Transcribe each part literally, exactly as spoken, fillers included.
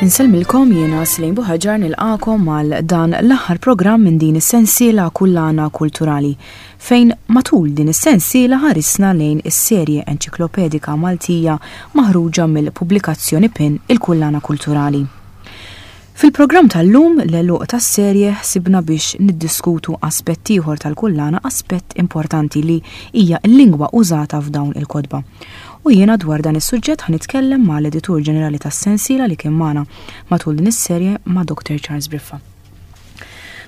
Insellmilkom, jiena Slejn Buħaġar, nilqagħkom għal dan l-aħħar programm minn din is-sensiela Kullana Kulturali, fejn matul din is-sensiela ħarisna lejn is-serje enċiklopedika Maltija maħruġa mill-pubblikazzjoni PIN, il-Kullana Kulturali. Fil-programm tal-lum, l-għeluq tas-serje, ħsibna biex niddiskutu aspett ieħor tal-kullana, aspett importanti li hija l-lingwa użata f'dawn il-kotba. U jiena dwar dan is-suġġett ħa nitkellem ma' l-editur ġenerali tas-sensiela li kien magħna matul din is-serje, ma' Doctor Charles Briffa.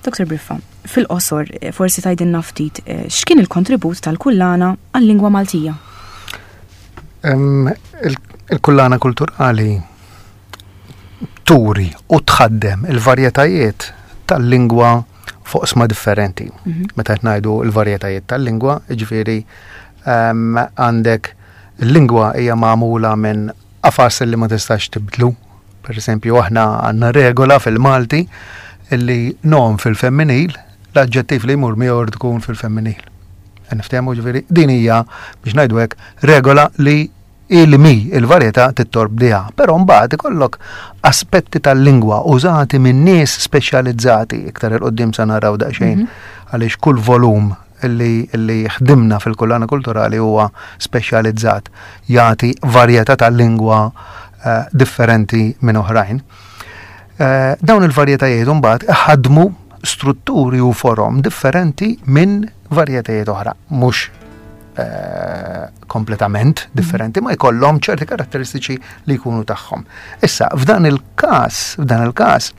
Doctor Briffa, fil-qosor eh, forsi tgħidilna ftit eh, x'kien il-kontribut tal-kullana għal-lingwa Maltija? Il-kullana kulturali turi u tħaddem il-varjetajiet tal-lingwa fuq oqsma differenti. Mhm. Meta qed ngħidu l-varjetajiet tal-lingwa, jiġifieri għandek il-lingwa hija magħmula minn qafas li ma tistax tibdlu. Per esempio, aħna għandna regola fil-Malti illi nom fil-femminil, l-aġġettiv li jmur miegħu tkun fil-femminil. Niftehmu, ġifieri, din hija, biex ngħidu hekk, regola li il-mi il-varjetà tittorbdiha. Però mbagħad ikollok aspetti tal-lingwa użati minn nies speċjalizzati, iktar 'il quddiem sa naraw daqsxejn mhm. għaliex kull volum li, li ħdimna fil-kullana kulturali huwa speċjalizzat, jagħti varjetà tal-lingwa uh, differenti minn oħrajn. Uh, dawn il-varjetajiet mbagħad ħadmu strutturi u forom differenti minn varjetajiet oħra, mhux eh, kompletament differenti, ma jkollhom ċerti karatteristiċi li jkunu tagħhom. Issa, f'dan il-każ, f'dan il-każ,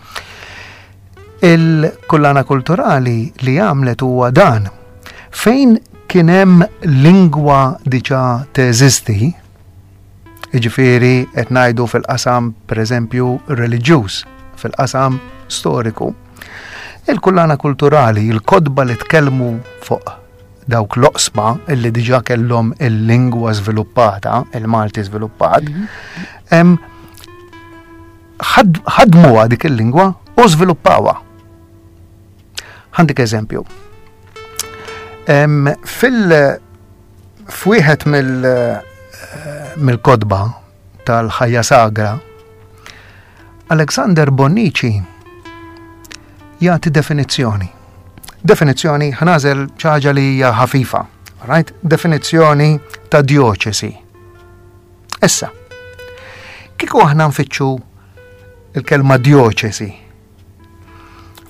il-kullana kulturali li għamlet huwa dan. Fejn kien hemm lingwa diġà teżisti, jiġifieri qed ngħidu fil-qasam, pereżempju, reliġjuż, fil-qasam storiku, il-kullana kulturali, il-kotba li tkellmu fuq dawk l-oqsma illi diġà kellhom il-lingwa żviluppata, il-Malti żviluppat, mhm. ħadmuha dik il-lingwa u żviluppawha. Ħa ntik eżempju. Fil f'wieħed mill-kotba tal-ħajja sagra, Alexander Bonnici jagħti definizzjoni. Definizzjoni, ħa nagħżel ħaġa li hija ħafifa, right? Definizzjoni ta' dioċesi. Issa, kieku aħna nfittxu il-kelma dioċesi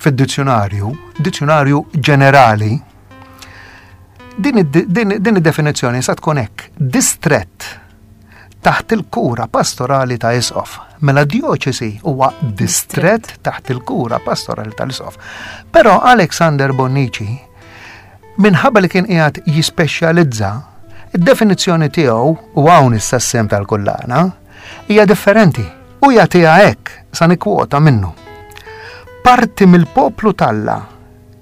fid-dizzjonarju, dizzjonarju ġenerali, din id-definizzjoni sa tkun hekk: distrett taħt il-kura pastorali ta' isqof. Mela dioċesi huwa distrett taħt il-kura pastorali tal-isqof. Però Alexander Bonnici, minħabba li kien qiegħed jispeċjalizza, id-definizzjoni tiegħu, u hawn issa s-sehem tal-kullana, hija differenti u jagħtiha hekk, sa nikkwota minnu: "Parti mill-poplu t'Alla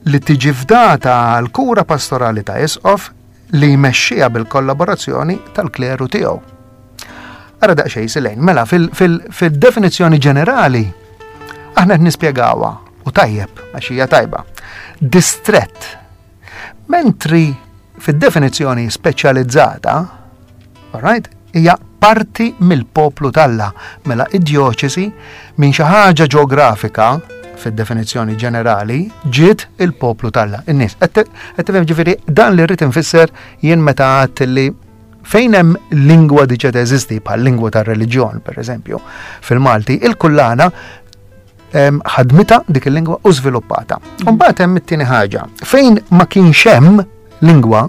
li tiġi fdata għal kura pastorali ta' isqof li jmexxiha bil-kollaborazzjoni tal-kleru tiegħu." Ara daqsxejn silejn, mela fil-definizzjoni ġenerali aħna qed nispjegawha u tajjeb għax hija tajba. Distrett. Mentri fid-definizzjoni speċjalizzata, alright, hija parti mill-poplu t'Alla. Mela id-dioċesi minn xi ħaġa ġeografika fid-definizzjoni ġenerali ġiet il-poplu t'Alla. In-nies. Qed tifhem, ġifieri, dan li rrid infisser jien meta għedt li fejn hemm lingwa diġà teżisti, bħal lingwa tar-reliġjon, pereżempju, fil-Malti, il-kullana ħadmitha dik il-lingwa u żviluppata. Mbagħad hemm it-tieni ħaġa. Fejn ma kienx hemm lingwa,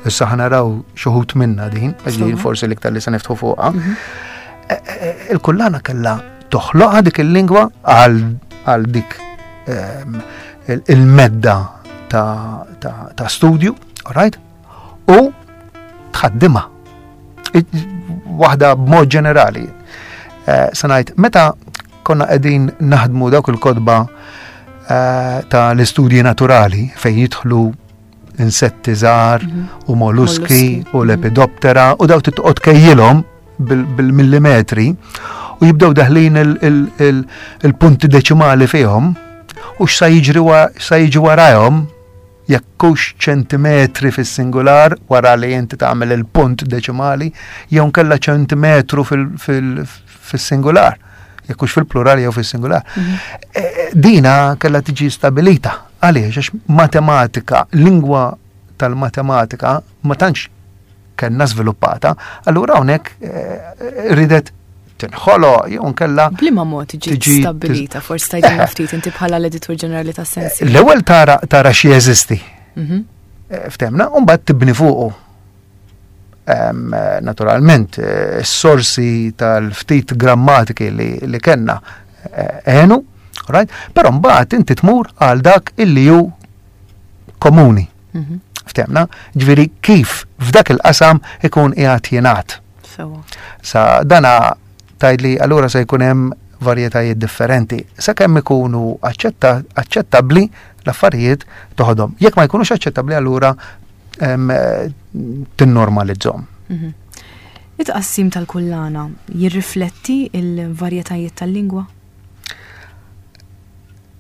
issa ħa naraw xi wħud minna din, għax forsi l-iktar li se niftħu fuqha, mhm. e, e, e, il-kullana kellha toħloqha dik il-lingwa għal dik il-medda ta' studju, right? U tħaddimha. Waħda b'mod ġenerali. Eh, Se ngħid, meta konna qegħdin naħdmu dawk il-kotba eh, ta' l-istudji naturali fejn jidħlu insetti żgħar mhm. u molluski u mhm. lepidoptera u daw titqgħod kejjilhom bil-millimetri u jibdew daħlin il-punti deċimali fihom u x'sa jiġri sa jiġi warajhom, jekk hux ċentimetri fis-singular wara li inti tagħmel il-punt deċimali jew nkella ċentimetru fis-singular. Jekk hux fil-plural jew fis-singular. Mhm. Eh, dina kellha tiġi stabilita. Għaliex? Għax matematika, lingwa tal-matematika ma tantx kellna żviluppata, allura hawnhekk eh, ridet tinħolo jew nkella. B'liema mod ġiet stabilita, forsi tgħidilna ftit inti bħala l-editur ġenerali ta' sensi. L-ewwel tara tara xi jeżisti. Mhm. Eh, ftemna, u mbagħad tibni fuqu. Naturalment, eh, s-sorsi tal-ftit grammatiki li, li kellna eh, għenu, right? Però mbagħad inti tmur għal dak illi hu komuni. Mhm. Ftemna, ġifieri kif f'dak il-qasam ikun qiegħed jingħad. Sa dana tgħidli allura se jkun hemm varjetajiet differenti. Sakemm ikunu aċċettabbli l-affarijiet toħodhom. Jekk ma jkunux aċċettabbli allura tinnormalizzhom. Mhm. It-tqassim tal-kullana jirrifletti il-varjetajiet tal-lingwa?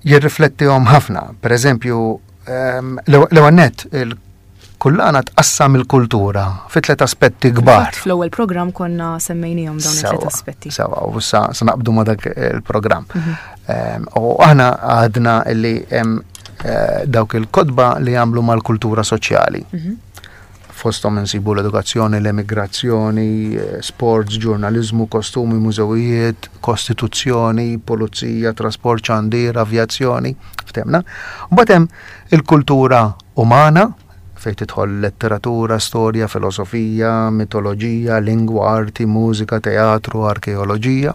Jirriflettihom ħafna. Per eżempju, l-ewwel nett il-kullana tqassam il-kultura fi tliet aspetti kbar. Fl-ewwel programm konna semmejnihom dawn it-tliet aspetti. Sewa, u sa naqbdu ma dak il-programm. Mhm. U aħna għadna li hemm eh, dawk il-kotba li jagħmlu mal-kultura soċjali. Mhm. Fosthom insibu l-edukazzjoni, l-emigrazzjoni, eh, sports, ġurnalizmu, kostumi, mużewijiet, kostituzzjoni, pulizija, trasport, xandir, avjazzjoni, ftemna. Mbagħad hemm il-kultura umana, fejn tidħol letteratura, storja, filosofija, mitoloġija, lingwa, arti, mużika, teatru, arkeoloġija.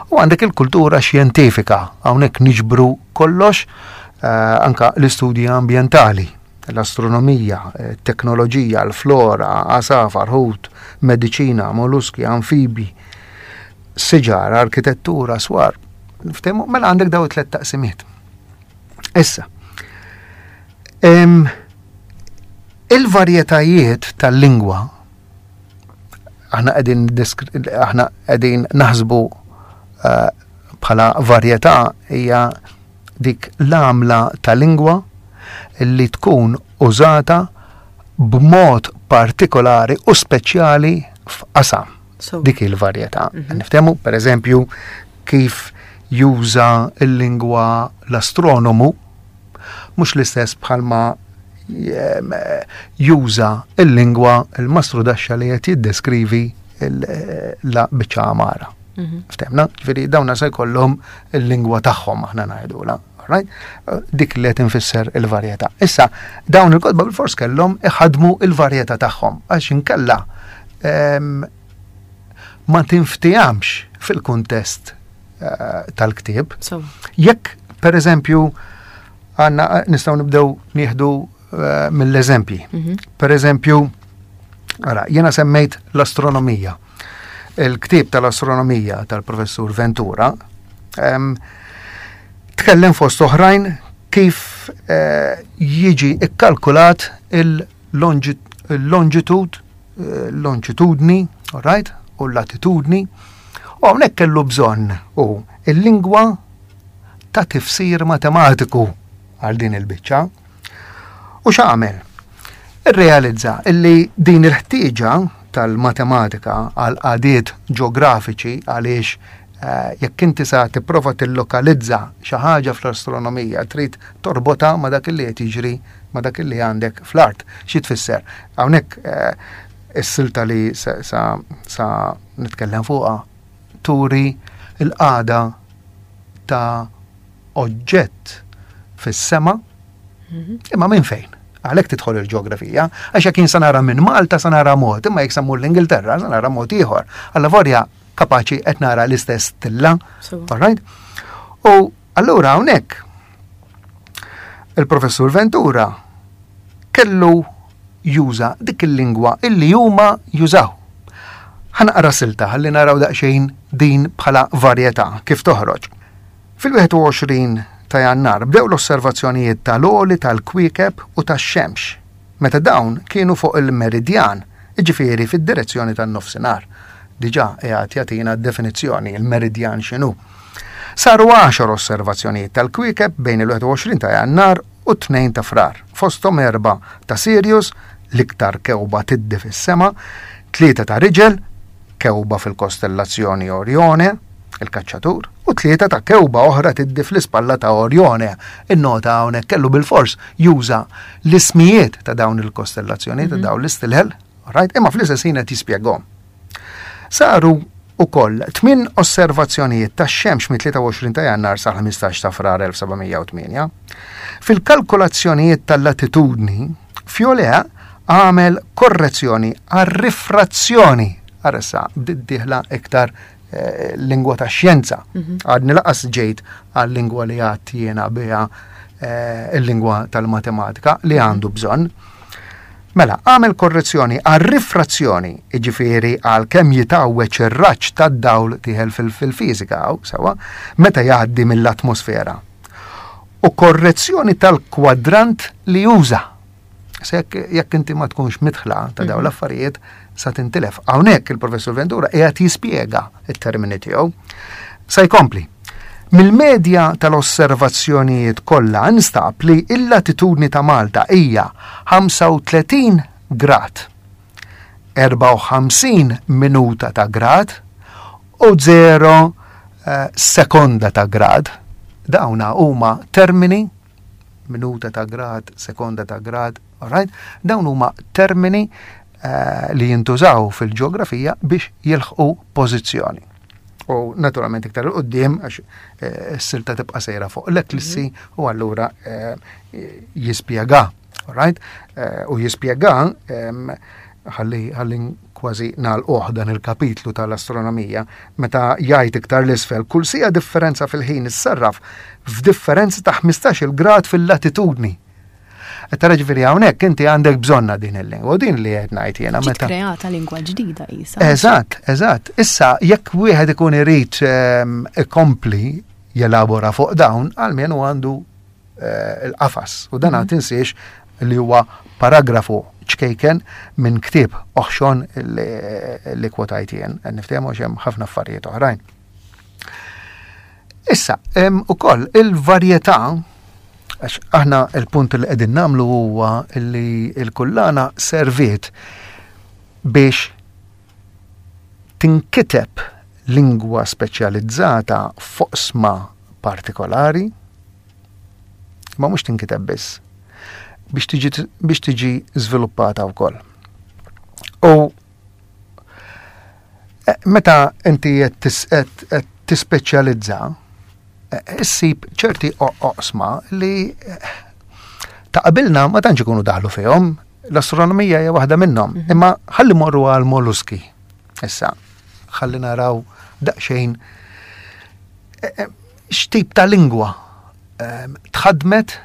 U għandek il-kultura xjentifika, hawnhekk niġbru kollox, eh, anka l-istudji ambientali, l-astronomija, eh, teknoloġija, l-flora, għasafar, ħut, mediċina, molluski, anfibi, siġar, arkitettura, swar. Ftehmu, mela għandek daw it-tlet taqsimiet. Issa, em, il-varjetajiet tal-lingwa aħna qegħdin aħna qegħdin naħsbu eh, bħala varjetà hija dik l-għamla ta' lingwa li tkun użata b'mod partikolari u speċjali f'qasam. So, Dik il-varjetà. Niftehmu, per eżempju, kif juża l-lingwa l-astronomu, mhux l-istess bħalma jem, juża il-lingwa il-mastru daxxa li qed jiddeskrivi il- la biċċa għamara. Mhm. Ftemna, ġifieri dawna se jkollhom il-lingwa tagħhom aħna ngħidula. Right? Dik li qed infisser il-varjetà. Issa, dawn il-kotba bil-fors kellhom iħadmu il-varjetà tagħhom għax inkella em, ma tinftijamx fil-kuntest eh, tal-ktieb. So, Jekk, per eżempju, għanna nistgħu nibdew nieħdu eh, mill-eżempji. mhm. Per eżempju, ara, jena semmejt l-astronomija. Il-ktieb tal-astronomija tal-professur Ventura em, tkellem fost oħrajn kif eh, jiġi ikkalkulat il-longitud, eh, longitudni, all right, u l-latitudni. U hawnhekk kellu bżonn u il-lingwa ta' tifsir matematiku għal din il-biċċa. U x'għamel? Irrealizza illi din il-ħtieġa tal-matematika għal qagħdiet ġeografiċi għaliex eh, jekk inti sa tipprova tillokalizza xi ħaġa fl-astronomija trid torbota ma dak li qed jiġri ma dak li għandek fl-art. Xi tfisser? Hawnhekk eh, is-silta li sa, sa, sa nitkellem fuqha turi l-qagħda ta' oġġett fis-sema imma minn fejn? Għalhekk tidħol il-ġeografija, għax jekk jien sa nara minn Malta sa nara mod, imma jekk sa mmur l-Ingilterra sa nara mod ieħor. Alla vorja kapaċi qed nara l-istess stilla. So, All right? U allura hawnhekk il-professur Ventura kellu juża dik il-lingwa illi huma jużaw. Ħa naqra silta ħalli naraw daqsxejn din bħala varjetà kif toħroġ. Fil-wieħed u għoxrin ta' Jannar bdew l-osservazzjonijiet tal-għoli tal-kwiekeb u tax-xemx, meta dawn kienu fuq il-meridjan, jiġifieri fid-direzzjoni tan-nofsinhar. Diġà qiegħed jagħtina definizzjoni il-meridjan x'inhu. Saru għaxar osservazzjonijiet tal-kwiekeb bejn il-wieħed u għoxrin ta' Jannar u tnejn ta' Frar, fosthom erba' ta' Sirius, l-iktar kewba tiddi fis-sema, tlieta ta' Riġel, kewba fil-kostellazzjoni Orione, il-kaċċatur, u tlieta ta' kewba oħra tiddi fl-ispalla ta' Orjone. In-nota hawnhekk kellu bil-fors juża l-ismijiet ta' dawn il-kostellazzjoni, ta' dawn l-istilel, right? Imma fl-istess ħin qed jispjegahom. Saru ukoll tmien osservazzjonijiet tax-xemx mit-tlieta u għoxrin ta' Jannar sa ħmistax ta' Frar elf seba' mija u tmienja. Fil-kalkolazzjonijiet tal-latitudni, Fiolea għamel korrezzjoni għar-rifrazzjoni. Aressa, bdiet dieħla iktar, eh, lingwa ta' xjenza. Mhm. Għadni laqas ġejt għal-lingwa li għad jiena biha, eh, il-lingwa tal-matematika li għandu bżonn. Mela, għamel korrezzjoni għar-rifrazzjoni, jiġifieri għal kemm jitgħawweġ ir-raġġ tad-dawl tieħel fil-, fil-fiżika, hawn, sewa, meta jgħaddi mill-atmosfera. U korrezzjoni tal-kwadrant li juża. Se jekk, jekk inti ma tkunx mitħla ta' dawn Mhm. l-affarijiet, sa tintilef. Hawnhekk il-professur Ventura qiegħed jispjega it-termini tiegħu. Sa jkompli. Mill-medja tal-osservazzjonijiet kollha nstab li l-latitudni ta' Malta hija ħamsa u tletin grad, erbgħa u ħamsin minuta ta' grad u zero, eh, sekonda ta' grad. Dawna huma termini, minuta ta' grad, sekonda ta' grad, all right? Dawn huma termini, eh, li jintużaw fil-ġeografija biex jilħqu pożizzjoni. U naturalment iktar 'il quddiem għax, eh, s-silta tibqa' sejra fuq l-eklissi Mhm. u allura, eh, jispjega, all right? Eh, u jispjega, ehm, ħalli, ħalli kważi nagħlquh dan il-kapitlu tal-astronomija, meta jgħid iktar l-isfel, kull sija differenza fil-ħin issarraf f'differenza ta' ħmistax-il grad fil-latitudni. Qed tara ġifieri hawnhekk inti għandek bżonna din il-lingwa, u din li qed ngħid jiena Ġiet meta kreata lingwa ġdida qisha. Eżatt, eżatt. Issa jekk wieħed ikun irid, ehm, ikompli jelabora fuq dawn, almenu għandu, eh, il-qafas. U dan Mhm. tinsiex li huwa paragrafu ċkejken minn ktieb oħxon li, li kwotajt jien, niftehmu għax hemm ħafna affarijiet oħrajn. Issa, hemm ukoll il-varjetà, għax aħna il-punt li qegħdin nagħmlu huwa li l-kullana serviet biex tinkiteb lingwa speċjalizzata f'oqsma partikolari, ma mhux tinkiteb biss, biex tiġi, biex tiġi żviluppata wkoll. U, eh, meta inti qed tis-, qed, qed tispeċjalizza, eh, issib ċerti o-, oqsma li, eh, ta' qabilna ma tantx ikunu daħlu fihom, l-astronomija hija waħda minnhom, Mhm. imma ħalli morru għal molluski. Issa, ħalli naraw daqsxejn, eh, eh, x'tip ta' lingwa, ehm, tħadmet,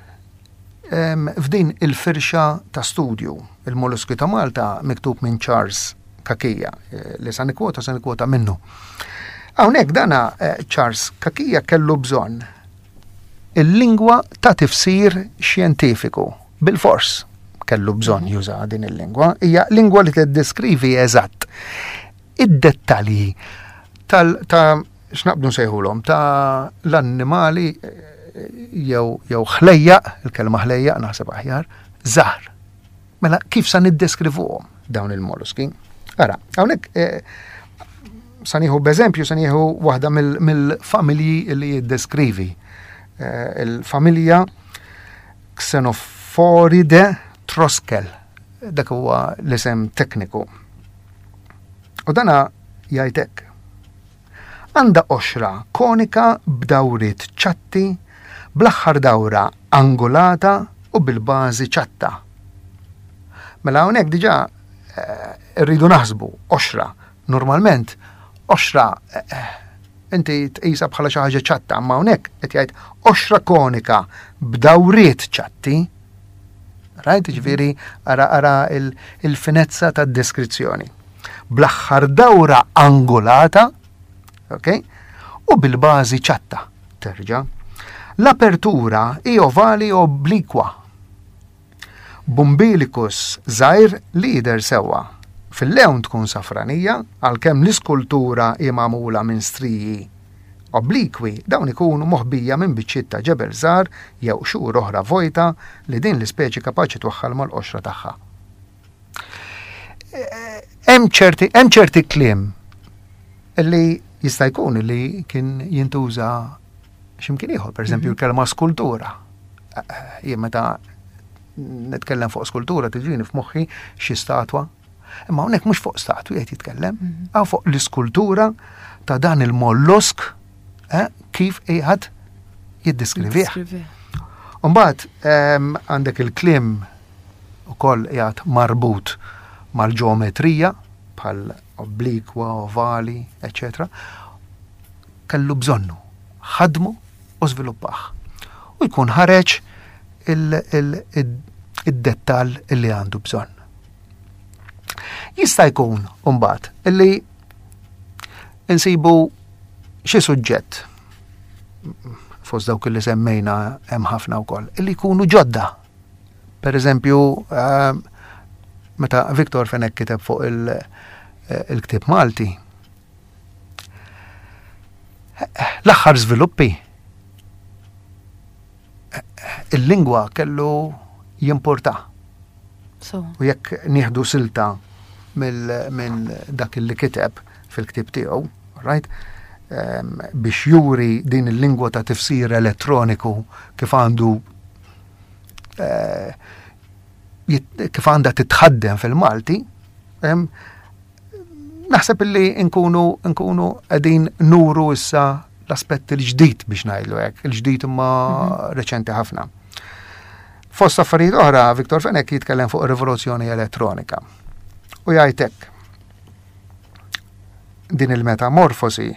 ehm, f'din il-firxa ta' studju. Il-Molluski ta' Malta miktub minn Charles Cachia, eh, li sa nikkwota, sa nikkwota minnu. Hawnhekk dana, eh, Charles Cachia kellu bżonn il-lingwa ta' tifsir xjentifiku. Bil-fors kellu bżonn juża din il-lingwa. Hija lingwa li tiddeskrivi eżatt id-dettalji tal-, ta' x'naqbdu nsejħulhom, ta' l-annimali, eh, jew, jew ħlejjaq, il-kelma ħlejjaq naħseb aħjar, żgħar. Mela kif sa niddeskrivuhom dawn il-molluski? Ara, hawnhekk, eh, sa nieħu b'eżempju, sa nieħu waħda mill-, mill-familji li jiddeskrivi. Eh, il-familja Xenophoridae Troskel, dak huwa l-isem tekniku. U dana jgħid hekk. Għandha qoxra konika b'dawriet ċatti, bl-aħħar dawra angolata u bil-bażi ċatta. Mela hawnhekk diġà, eh, rridu naħsbu qoxra. Normalment qoxra, eh, inti tqisha bħala xi ħaġa ċatta, imma hawnhekk qed jgħid qoxra konika b'dawriet ċatti. Rajt, ġifieri ara, ara il-, il-finezza tad-deskrizzjoni. Bl-aħħar dawra angolata, ok? U bil-bażi ċatta, terġa'. L-apertura hi ovali oblikwa. Bumbilicus żgħir li jidher sewwa. Fil-lewn tkun safranija, għalkemm l-iskultura hi magħmula minn striji oblikwi, dawn ikunu moħbija minn biċċiet ta' ġebel żgħar jew xhur oħra vojta li din l-ispeċi kapaċi twaħħal mal-qoxra tagħha. Hemm ċerti, hemm ċerti kliem li Jista' jkun li kien jintuża x'imkien ieħor, pereżempju l-kelma skultura. Jien meta nitkellem fuq skultura tiġini f'moħħi xi statwa. Imma hawnhekk mhux fuq statwi qed jitkellem, hawn fuq l-iskultura ta' dan il-mollusk eh, kif qiegħed jiddiskrivih. Mbagħad ehm, għandek il-kliem ukoll qiegħed marbut mal-ġeometrija bħal oblikwa, ovali, eċċetera. Kellu bżonnu, ħadmu u żviluppah. U jkun ħareġ id-dettall illi għandu bżonn. Jista' jkun mbagħad illi insibu xi suġġett fost dawk li semmejna hemm ħafna wkoll, illi jkunu ġodda. Per eżempju, ehm, meta Victor Fenech kiteb fuq il-ktieb Malti, l-aħħar żviluppi il-lingwa kellu jimporta. U jekk nieħdu silta minn dak li kiteb fil-ktieb tiegħu, right? Um, biex juri din il-lingwa ta' tifsir elettroniku kif għandu uh, kif għandha titħaddem fil-Malti, um, naħseb illi nkunu nkunu qegħdin nuru issa l-aspett il-ġdid biex ngħidlu hekk, il-ġdid imma mhm. reċenti ħafna. Fost affarijiet oħra, Victor Fenech jitkellem fuq rivoluzzjoni elettronika. U jgħid hekk. Din il-metamorfosi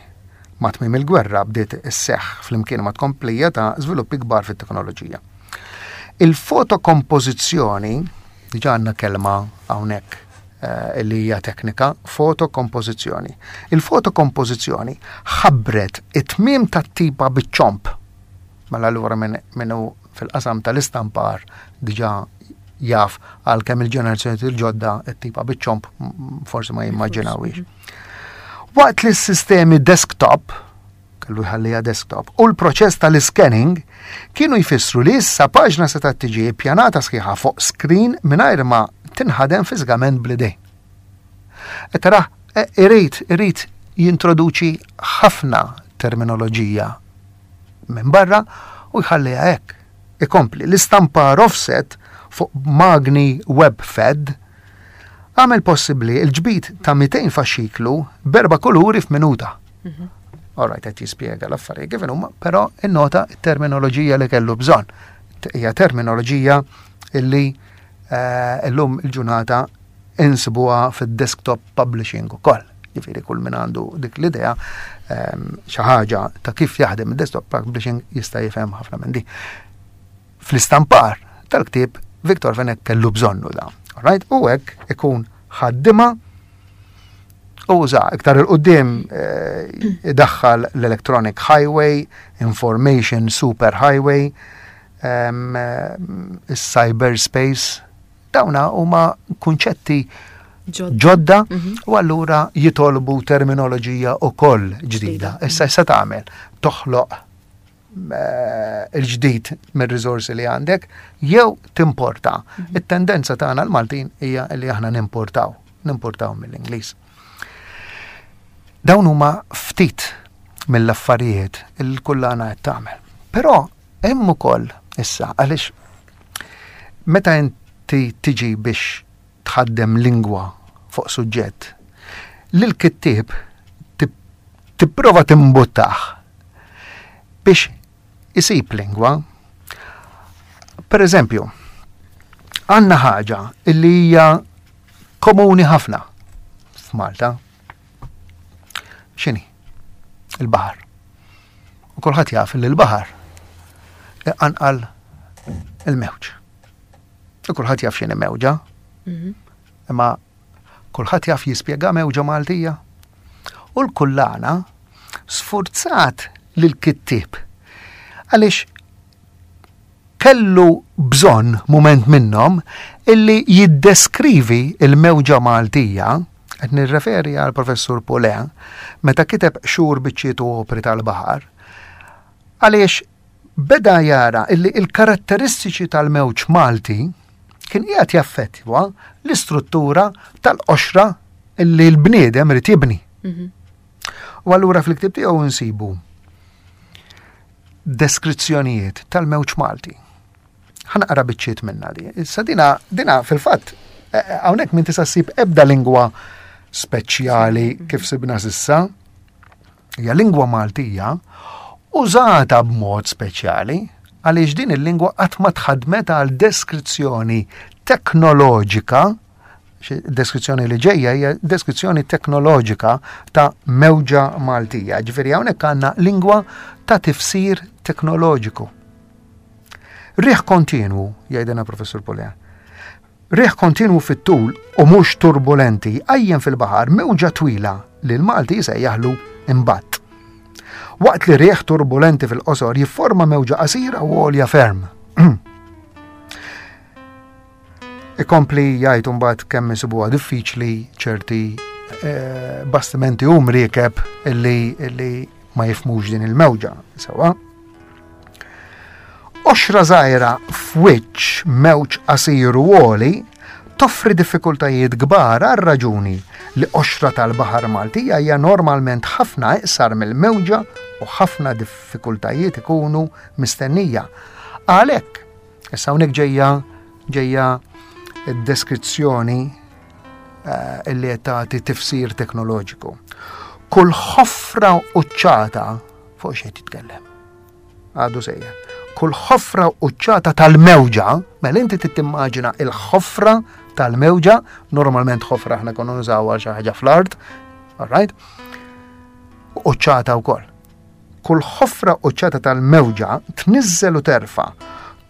ma' tmiem il-gwerra bdiet isseħħ flimkien ma' tkomplija ta' żviluppi kbar fit-teknoloġija. Il-fotokompożizzjoni, diġà għandna kelma hawnhekk eh, li hija teknika, fotokompożizzjoni. Il-fotokompożizzjoni ħabbret it-tmiem tat-tipa biċ-ċomb. Mela allura minnu fil-qasam tal-istampar diġà jaf, għalkemm il-ġenerazzjoni il-ġodda it-tipa biċ-ċomb forsi ma jimmaġinawix. Waqt li s-sistemi desktop, kellu jħallija desktop, u l-proċess tal-scanning kienu jfissru li issa paġna seta' tiġi pjanata sħiħa fuq screen mingħajr ma tinħadem fiżikament bl-idejn. E tara, e, irid, irid jintroduċi ħafna terminoloġija minn barra u jħalliha hekk. Ikompli, l-istampar offset fuq magni web fed għamel possibbli il-ġbid ta' mitejn faxxiklu berba kuluri f'minuta. Mhm. All right, qed jispjega l-affarijiet kif huma, però innota t-terminoloġija li kellu bżonn. Hija terminoloġija illi eh, illum il-ġurnata insibuha fid-desktop publishing ukoll. Jiġifieri kull min għandu dik l-idea ehm, xi ħaġa ta' kif jaħdem id-desktop publishing jista' jifhem ħafna minn di. Fl-istampar tal-ktieb Victor Fenech kellu bżonnu da. Right? U hekk ikun ħaddima u uża iktar il-qudiem eh, idaħħal l-Electronic Highway, Information Super Highway, um, cyberspace. Dawna huma kunċetti ġodda mhm. u allura jitolbu terminoloġija ukoll ġdida. Issa issa tagħmel toħloq eh, il-ġdid mir-riżorsi li għandek jew timporta. Mhm. It-tendenza tagħna l-Maltin hija li aħna nimportaw, nimportaw mill-Ingliż. Dawn huma ftit mill-affarijiet il-kullana qed tagħmel. Però hemm ukoll issa, għaliex meta inti tiġi biex tħaddem lingwa fuq suġġett, lil kittieb tipprova timbuttah biex isib lingwa. Per eżempju, għandna ħaġa illi hija komuni ħafna f'Malta. X'inhi? Il-baħar. U kulħadd jaf li l-baħar iqanqal il-mewġ. U kulħadd jaf x'inhi mewġa. Mhm. Imma kulħadd jaf jispjega mewġa Maltija. U l-kullana sfurzat lil kittieb għaliex kellu bżonn mument minnhom illi jiddeskrivi il-mewġa Maltija, qed nirreferi għal Professur Poulain, meta kiteb Xhur, Biċċiet u Opri tal-Baħar, għaliex beda jara illi il-karatteristiċi tal-mewġ Malti kien qiegħed jaffettwa l-istruttura tal-qoxra illi l-bniedem irid jibni. Mhm. U allura fil-ktieb tiegħu nsibu deskrizzjonijiet tal-mewġ Malti. Ħa naqra biċċiet minna di. Issa dina, dina fil-fatt, eh, eh, hawnhekk minn tista' ssib ebda lingwa speċjali kif sibna s'issa. Hija lingwa Maltija użata b'mod speċjali għaliex din il-lingwa qatt ma tħadmet għal deskrizzjoni teknoloġika. Deskrizzjoni li ġejja hija deskrizzjoni teknoloġika ta' mewġa Maltija. Ġifieri hawnhekk għandna lingwa ta' tifsir teknoloġiku. Riħ kontinwu, jgħidilna Professur Pulea. Riħ kontinwu fit-tul u mhux turbulenti għajjen fil-baħar mewġa twila li l-Malti jsejjaħlu imbatt. Waqt li riħ turbulenti fil-qosor jifforma mewġa qasira u għolja ferm. Ikompli jgħid mbagħad kemm isibuha diffiċli ċerti eh, bastimenti u mriekeb illi, illi ma jifhmux din il-mewġa. Sewa. Qoxra żgħira f'wiċċ mewġ qasir u għoli toffri diffikultajiet kbar għal raġuni li qoxra tal-Baħar Maltija hija normalment ħafna iqsar mill-mewġa u ħafna diffikultajiet ikunu mistennija. Għalhekk, issa hawnhekk ġejja ġejja id-deskrizzjoni eh, illi qed tagħti tifsir teknoloġiku. Kull ħofra uċċata fuq xejn titkellem. Għadu sejjer. Kull ħofra uċċata tal-mewġa, mela inti tittimmaġina il-ħofra tal-mewġa, normalment ħofra aħna konna nużaw għal xi ħaġa fl-art, all right? Uċċata wkoll. Kull ħofra uċċata tal-mewġa tniżżel u terfa,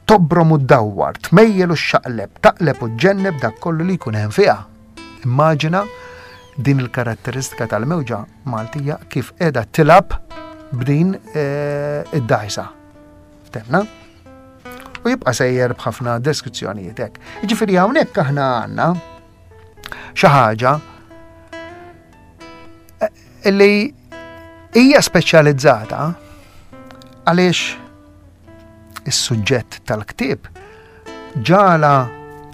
tobrom u ddawwar, tmejjel u xaqleb, taqleb u ġenneb dak kollu li jkun hemm fiha. Immaġina din il-karatteristika tal-mewġa Maltija kif qiegħda tilgħab b'din eh, id-dajsa. Temna? U jibqa' sejjer b'ħafna deskrizzjonijiet hekk. Jiġifieri hawnhekk aħna għandna xi ħaġa eh, illi hija speċjalizzata għaliex is-suġġett tal-ktieb ġala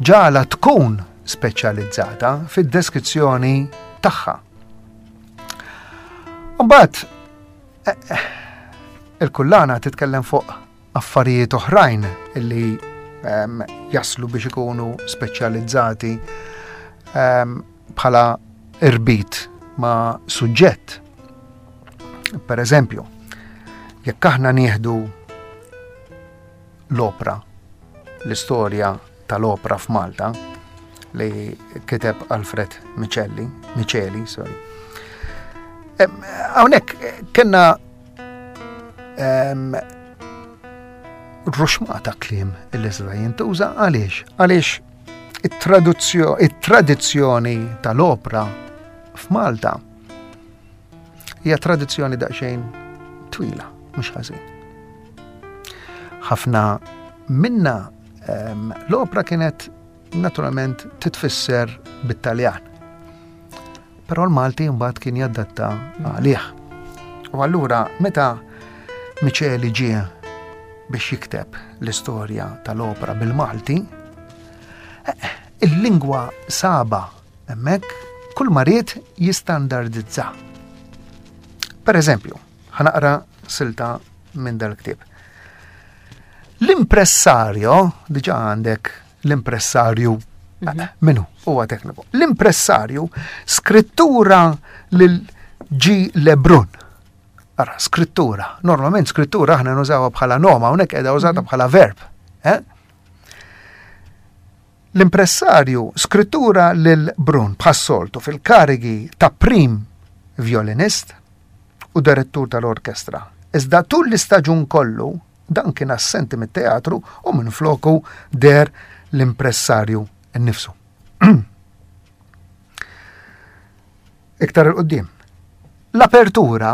ġala tkun speċjalizzata fid-deskrizzjoni tagħha. Mbagħad eh, eh, il-kullana titkellem fuq affarijiet oħrajn illi um, jaslu biex ikunu speċjalizzati um, bħala irbit ma' suġġett. Per eżempju, jekk aħna nieħdu l-opra, l-istorja tal-opra f'Malta li kiteb Alfred Micelli, Miceli, sorry. Hawnhekk kellna em, ruxmata kliem illi seta' jintuża għaliex? Għaliex it-tradizzjoni tal-opra f'Malta hija tradizzjoni daqsxejn twila, mhux ħażin. Ħafna minna um, l-opra kienet naturalment titfisser bit-Taljan. Però l-Malti mbagħad kien jadatta għalih. U allura meta Miceli ġie biex jikteb l-istorja tal-opra bil-Malti, eh, il-lingwa saba hemmhekk kull ma ried jistandardizza. Per eżempju, ħa naqra silta minn dal-ktieb. L-impressario, diġa għandek l-impressarju, mm minnu, huwa tekniku. L-impressarju skrittura lil G. Lebrun. Ara, skrittura. Normalment skrittura aħna nużawha bħala noma, hawnhekk qiegħda użata bħala verb. Eh? L-impressarju skrittura lil Brun bħas-soltu fil-karigi ta' prim violinist u direttur tal-orkestra. Iżda tul l-istaġun kollu dan kien assenti mit-teatru u minn floku der l-impressarju nnifsu. Iktar il-qoddim. L-apertura,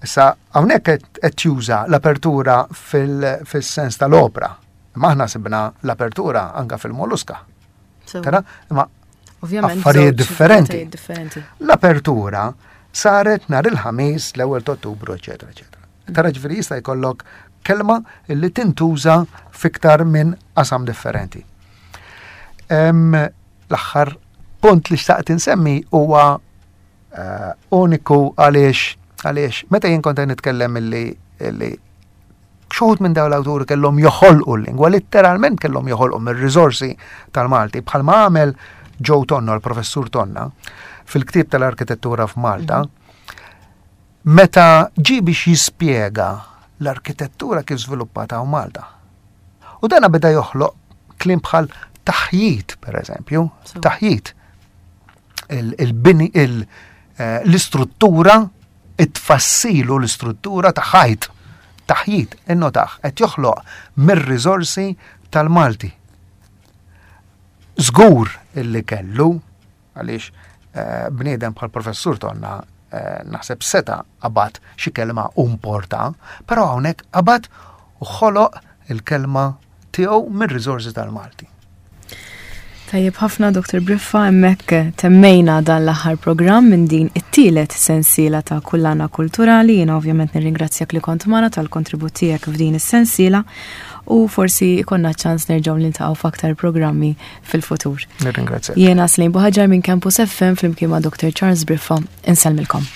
issa hawnhekk qed juża l-apertura fil-sens tal-opra. Imma aħna sibna l-apertura anka fil-Molluska. Tara, imma affarijiet differenti. L-apertura saret nhar il-Ħamis l-ewwel ta' Ottubru, eċetera, eċetera. Tara ġifieri jista' jkollok kelma li tintuża fiktar minn qasam differenti. L-aħħar punt li xtaqt insemmi huwa Eh, uniku għaliex għaliex meta jien kont nitkellem illi illi xi wħud minn dawn l-awturi kellhom joħolqu l-lingwa, letteralment kellhom joħolqu mir-riżorsi tal-Malti, bħalma għamel Joe Tonna, l-professur Tonna, fil-ktieb tal-arkitettura f'Malta, meta ġi biex jispjega l-arkitettura kif żviluppata Malta. U dana beda joħloq kliem bħal taħjit, per eżempju, taħjit. Il-bini, eh, l-istruttura, it-tfassilu l-istruttura ta' ħajt, taħjit, innotaħ, qed joħloq mir-riżorsi tal-Malti. Żgur illi kellu, għaliex eh, bniedem bħal professur Tonna eh, naħseb seta qabad xi kelma importa, però hawnhekk qabad u ħoloq il-kelma tiegħu mir-riżorsi tal-Malti. Tajjeb ħafna, Doktor Briffa, hemmhekk temmejna dan l-aħħar programm minn din it-tielet sensiela ta' Kullana Kulturali. Jiena ovvjament nirringrazzjak li kont magħna tal-kontribut tiegħek f'din is-sensiela u forsi ikollna ċans nerġgħu niltaqgħu f'aktar programmi fil-futur. Nirringrazzjak. Jiena Slejn Buħaġar minn Campus F M flimkien ma' Doktor Charles Briffa, insellmilkom.